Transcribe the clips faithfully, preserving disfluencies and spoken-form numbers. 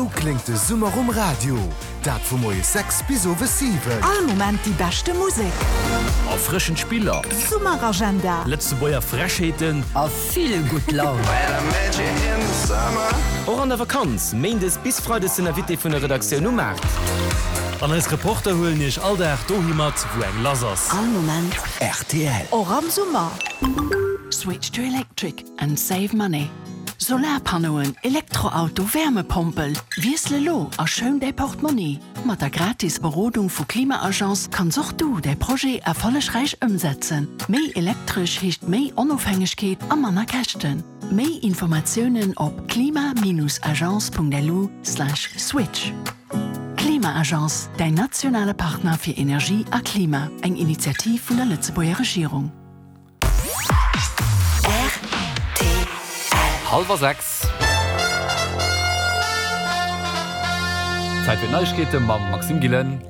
Esou kléngt de Summer um Radio. Dat vu moies sechs bis owes siwen. All Moment déi beschte Musek. Erfrëschend Spiller. Summeragenda. Lëtzebuerger Frechheeten. A vill gutt Laun. Och an der Vakanz, Méindes bis Freides den Invité vun der Redaktioun um Maart. An eis Reporter huelen iech all Dag dohi mat, wou eng lass ass. All Moment rtl. Och am Summer. Switch to electric and save money. Solarpannoen, Elektroauto, Wärmepompel, Wiessel elo a schoun däi Portmonni. Mat der gratis Berodung vu Klima-Agence kanns och du däi Projet erfollegräich ëmsetzen. Méi elektresch heescht méi Onofhängegkeet a manner Käschten. Méi Informatiounen op klima-agence.lu slash switch. Klima-Agence, däin nationale Partner fir Energie a Klima. Eng Initiativ vun der Lëtzebuerger Regierung. Hallwer sechs. Zäit fir d'Neiegkeete mam Maxime Gillen.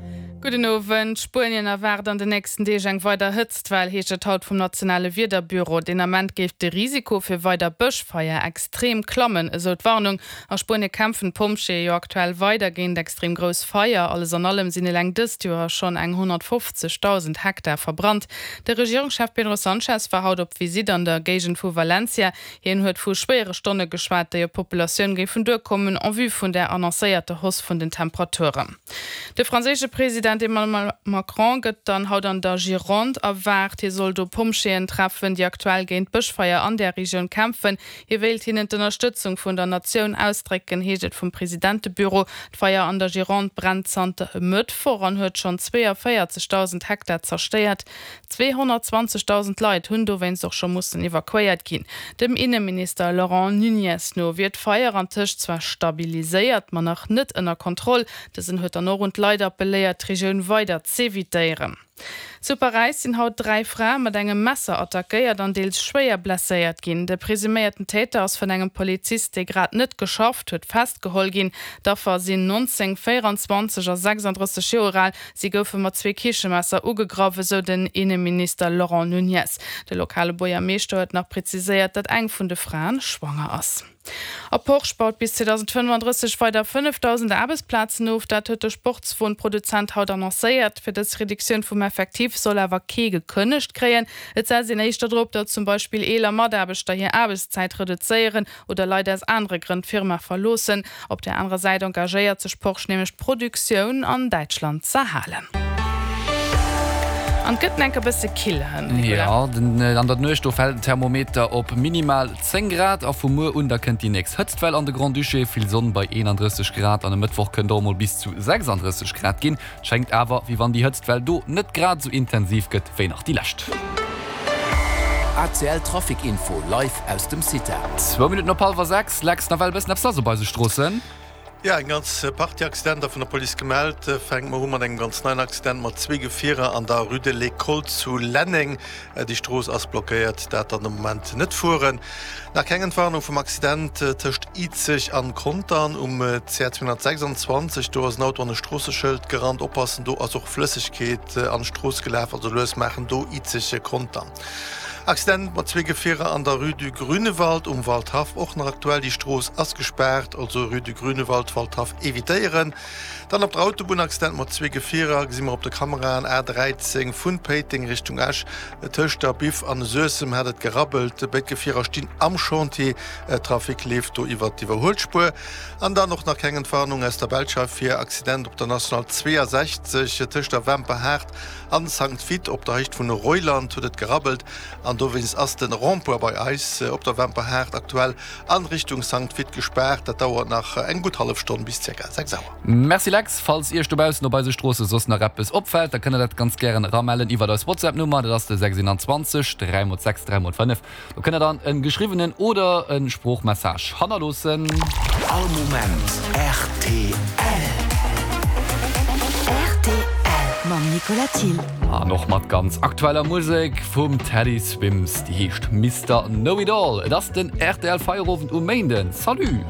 Gudden Owend. Spuenien erwaart an den nächsten Deeg eng weider Hëtztwell, heescht et haut vum nationale Wiederbüro. Den Ament géif de Risiko fir weider Bëschfeier extrem klammen, esou d'Warnung. A Spuenie kämpfen d'Pompjeeë jo aktuell weider géint extrem grouss Feier. Alles an allem sinn eleng dëst Joer schonn eng honnertfofzegdausend Hektar verbrannt. De Regierungschef Pedro Sanchez war haut op Visitt an der Géigend vu Valencia. Hien huet vu schwéiere Stonne geschwat, déi op d'Populatioun géifen duerkommen, en vue vun der annoncéierter Hausse vun den Temperaturen. De franséische President Emmanuel Macron gëtt dann haut an der Gironde erwaart. Hie soll do Pompjeeën treffen, déi aktuell géint d'Bëschfeier an där Regioun kämpfen. Hie wéilt hinnen d'Ënnerstëtzung vun der Natioun ausdrécken, heescht et vum Presidentebüro. D'Feier an der Gironde brennt zanter e Mëttwoch an huet schonn zweeënvéierzegdausend Hektar zerstéiert. Zweehonnertzwanzegdausend Leit hunn dowéinst och scho mussen evakuéiert ginn. Dem Inneminister Laurent Nuñez no wier d'Feier antëscht zwar stabiliséiert, ma nach net ënner Kontroll. Dësen huet dann och un d'Leit appelléiert, d'Regioun weider z'evitéieren. Zu Paräis sinn haut dräi Frae mat engem Messer attackéiert an deels schwéier blesséiert ginn. De presuméierten Täter ass vun engem Polizist, dee grad net geschafft huet, festgeholl ginn. D'Affer sinn neunzéng, véierundzwanzeg a sechsanddrësseg Joer al. Si goufe mat zwee Kichemesser ugegraff, esou den Inneminister Laurent Nuñez. De lokale Buergermeeschter huet nach preziséiert, datt eng vun de Fraen schwanger ass. A Porsche baut bis zweedausendfënnefandrësseg weider fënnefdausend Aarbechtsplazen of. Dat huet de Sportswon-Produzent haut annoncéiert. Fir dës Reduktioun vum Effectif soll awer kee gekënnegt kréien. Et setzt een éischter drop, datt zum Beispill eeler Mataarbechter hir Aarbechtszäit reduzéieren oder Leit aus anere Grënn d'Firma verloossen. Op där anerer Säit engagéiert sech Porsche nämlech d'Produktioun an Däitschland z'erhalen. An et gëtt enk e bësse kill hënt, Nicolas. Jo, den an der Nuecht do fält den Thermometer op minimal zéng Grad a vu muer un da kënnt déi nächst Hëtztwell an de Grand-Duché. Vill Sonn bei eenandrësseg Grad an e Mëttwoch kënnt och emol bis zu sechsanddrësseg Grad ginn. Et schéngt awer, wéi wann déi Hëtztwell do net grad esou intensiv gëtt wéi nach déi lescht. A C L Trafic Info live aus dem CITA. Zwou Minutten op hallwer sechs, Lex, nawell e bëssen eppes lass op eise Stroossen. Jo, eng ganz Partie Accidenter vun der Police gemellt. Fänke mer u mat engem ganz neien Accident mat zwee Gefierer an der Rue de l'École zu Lenneng. Déi Strooss ass blockéiert, dat dann de Moment net fueren. Nach keng Entwarnung vum Accident tëscht Izeg an Contern um C R zweehonnertsechsundzwanzeg. Do ass en Auto an e Stroosseschëld gerannt. Oppassen, do ass och Flëssegkeet an d'Strooss gelaf, also lues maachen do Izeg, Contern. Accident mat zwee Gefierer an der Rue du Grünewald um Waldhaff, och nach aktuell. Déi Strooss ass gespaart, also Rue du Grünewald, Waldhaff evitéieren. Dann op der Autobunn Accident mat zwee Gefierer, gesi mer op de Kameraen, A dräizéng vun Péiteng Richtung Esch, tëscht der Biff an Suessem hat et gerabbelt. Béid Gefierer stinn am Chantier, Trafic leeft do iwwert d'Iwwerhuelspuer. An dann och nach keng Entwarnung aus der Belsch hei fir Accident op der National zweeasechzeg tëscht der Wemperhaart an Sankt Vith op der Héicht vun Reuland huet et gerabbelt an dowéinst ass den Rond-point bei eis op der Wemperhaart aktuell an Richtung Sankt Vith gespaart. Dat dauert nach eng gutt hallef Stonn bis ca. sechs Auer. Merci Lex. Falls Iech dobaussen op eise Stroosse soss nach eppes opfält, da kënnt der dat ganz gären eramellen iwwert eis WhatsApp Nummer, dat ass de sechs dräi mol sechs dräi mol fënnef. Do kënnt der dann en geschriwwenen oder en Sproochmessage hannerloossen. All Moment rtl. Rtl mam Nicolas Thill. An och mat ganz aktueller Musek vum Teddy Swims, déi heescht Mister Know It All. Et ass den rtl Feierowend um Méinden. Salut!